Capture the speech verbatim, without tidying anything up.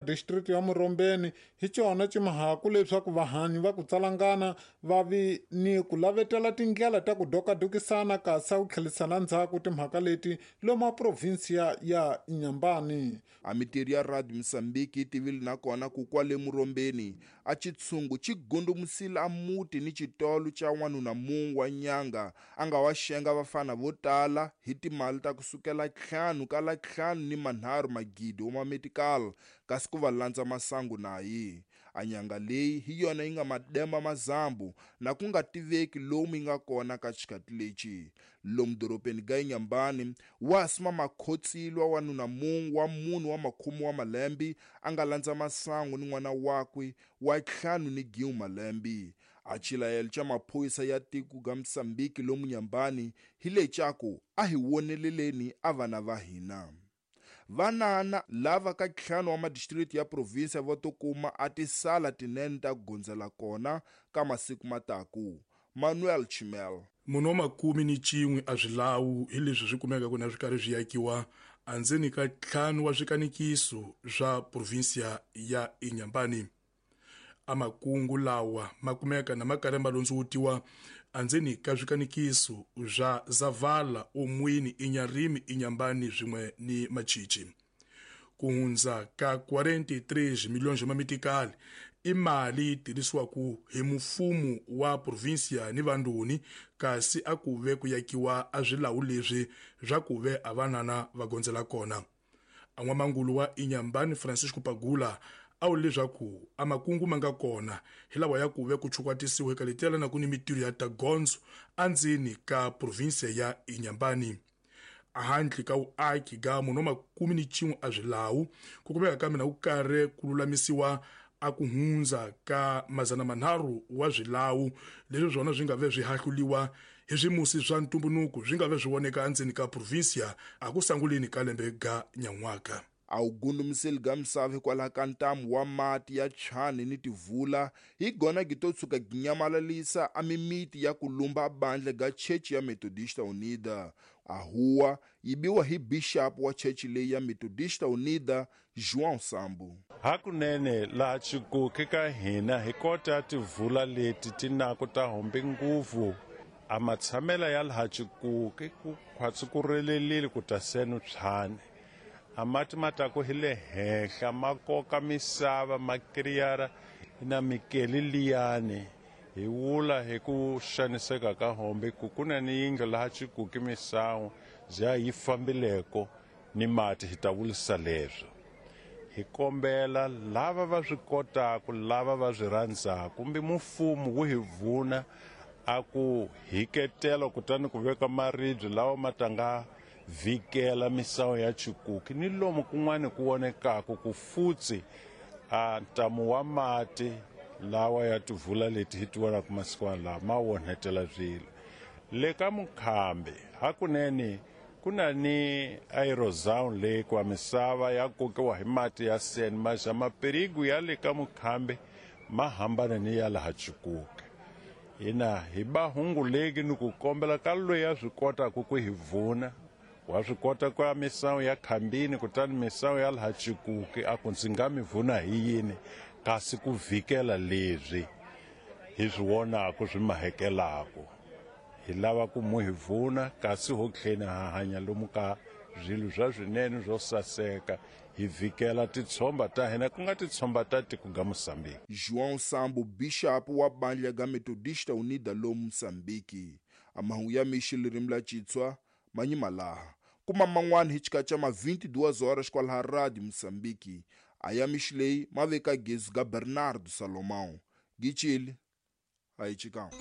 Distrito ya Murombeni hi cona cimahaku leswaku vahanyi va ku tsalangana va vi ni ku lavetela tindlela ta ku dokadokisana kasi ku tlhelisana ndzhaku timhaka leti lomu provinsia ya Inhambane. A mitirho ya Radio Mozambique yi tivile nakona ku kwale Murombeni a chitshungu xi gundumusile a muti ni xitolo xa n'wanuna mun'we wa nyanga a nga wa xenga vafana vo tala hi timali ta kusukela ntlhanu kala ntlhanu ni manharhu magidi wa mametikal kasi ku va landza masangu naye. A nyanga leyi hi yona yi nga mademba mazambu na ku nga tiveki lomu yi nga kona ka xikati lexi. Lomu dorobeni ga Inhambane wa sima makhotsilwa wanuna mun'we wa munhu wa makhume wa malembe a nga landza masangu ni n'wana wakwe wa ntlhanu ni giwu malembe. A xilayelo xa maphorisa ya tiko ga Mozambique lomu Inhambane hi lecaku a hi woneleleni a vana va hina. Vanana lava ka ntlhanu wa madistrito ya provinsia va to kuma a tisala tinene ta ku gondzela kona ka masiku mataku. Manuel Chimel. Munhu wa makumi ni cin'we a swilawu hi leswi swi kumekaka na swi karhi swi yakiwa andzeni ka ntlhanu wa swikanikiso swa provinsia ya Inhambane. A makungu lawa ma kumeka na ma karhi ma londzowutiwa andzeni ka swikanikiso swa Zavala, Omwini, Inharime, Inhambane swin'we ni Machichi. Ku hundza ka quarenta e três milhões de mamitikali i mali yi tirhisiwaku hi mfumo wa provinsia ni vandoni kasi a ku ve ku yakiwa a swilawu leswi swa ku ve a vanana va gondzela kona. A n'wamangulu wa Inhambane Francisco Pagula a vula leswaku a makungu ma nga kona hi lawa ya ku ve ku chukwatisiwa eka letela na ku ni mitirho ya tagondzo andzeni ka provinsia ya Inhambane. Ahandle ka vuaki ga munhu wa makumi ni cin'we a swilawu ku kumeka ka mina ku karhi ku lulamisiwa a ku hundza ka mazana manharhu wa swilawu leswi swona swi nga ve swi hahluliwa hi swimusi swa ntumbunuku swi nga ve swi voneka endzeni ka provinsia a ku sanguleni ka lembe ga nyan'waka. A wu gundumiseli ga misava hikwalaho ka ntamu wa mati ya chani ni tivula hi gona gi to tshuka gi nyamalalisa a mimiti ya ku lumba bandla ga Chechi ya Methodista Unida. A huwa yi biwa hi bishop wa chechi leyi ya Methodista Unida João Sambo. Hakunene laha Chikuki ka hina hi kota tivula leti ti naku ta hombe nguvu a matshamela ya laha Chikuki ku khwatsi ku relelile ku ta senu tshane. A mati ma taku hi le henhla ma koka misava ma kiriyara na mikeli liyani hi wula hi ku xaniseka ka hombe ku ku na ni yindlu laha Chikuki misawu bya yi fambileko ni mati hi ta vurisa leswo. Hi kombela lava va swi kotaka lava va swi rhandzaka kumbe mfumo wu hi vuna a ku hiketela kutani ku veka maribye lawa ma ta nga vhikela misawu ya Chikuki ni lomu kun'wana ku vonekaka ku futsi a ntamu wa mati lawa ya tivula leti hi ti vonaka masiku lawa ma onhetela swilo. Le ka Mukhambi hakunene ku na ni aerozone leyi kwa misava ya kokiwa hi mati ya seni maxa mapirigu ya le ka Mukhambi ma hambana ni ya laha Chikuki. Hina hi ba hunguleki ni ku kombela ka loyi a swi kotaka ku hi vuna wa swi kota ku ya misawu ya Khambini kutani misawu ya laha Chikuki a ku ndzi nga mi vuna hi yini kasi ku vhikela leswi hi swi vonaka swi mahekelaku. Hi lava ku mu hi vuna kasi ho tlheni ha hanya lomu ka swilo swa swinene swo saseka hi vhikela titshomba ta hina ku nga titshomba ta tiko ga Mozambique. João Sambo bishop wa bandla ga Methodista Unida lomu Mozambique. A mahungu ya mixi ririmi la Xitswa manyima laha kuma man'wana hi xikatsa ma vinte e duas horas kwalaha Radio Mozambique. A ya mixi leyi ma veka gezi ga Bernardo Salomão. Gicile a hi chikanga.